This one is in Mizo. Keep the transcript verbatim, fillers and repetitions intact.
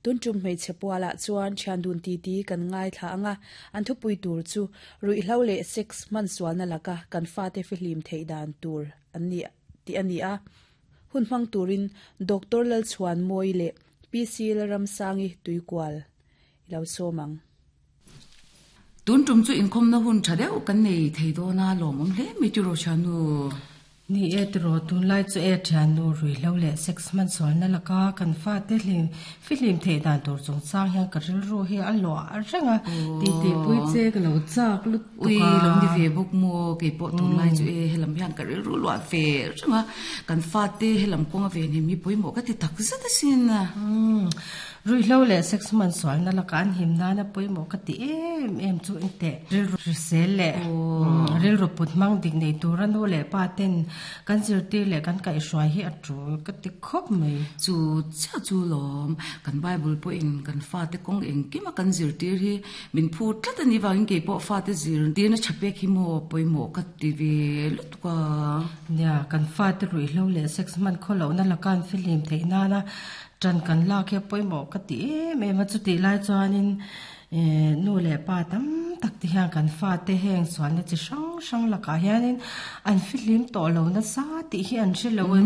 Tun tum hmeichhe pualah chuan thian dun titi kan ngaithla anga, an thupui tur chu ruihhlo leh sex hman sualna laka kan fate fihlim theih dan tur an ni tih a ni a. Hun hmang turin Doctor Lalchhuanmawii leh P C Lalramsangi Tuikual i lo sawm ang. Tun tum chu inkhawmna hun tha deuh kan nei thei dawn a, lawmawm hle mai tiraw thiannu? Ni e tiraw, tunlai chu e thiannu, ruihhlo leh sex hman sualna laka kan fate hlim fihlim theih dan tur chungchang hian ka rilru hi a luah reng a, titipui che ka lo chak lutuk a. Ui, lo ni ve bawk maw, keipawh tunlai chu e helam hian ka rilru luah ve reng a, kan fate helam kawnga ve hnim hi pawimawh ka ti tak zet asin. Umm, ruihhlo leh sex hman sualna laka an him nana pawimawh ka ti em em chu engteh, rilru hrisel leh rilru put hmang dik nei tura nu leh pa ten kan zirtir leh kan kaihhruai hi a tul ka ti khawp mai. Chu chiah chu lawm, kan Bible pawhin kan fate kawng engkima kan zirtir hi min phut tlat a nih vangin keipawh fate zirtirna tha pek hi maw pawimawh ka ti ve lutuk a. Nia, kan fate ruihhlo leh sex hman khawlohna laka an fihlim theih nana tan kan lak hi a pawimawh ka ti em em a. Chutih lai chuanin nu leh pa tam tak te hian kan fate heng sualna chi hrang hrang lakah hianin an fihlim tawh lo nasa tih hi an hre lo em.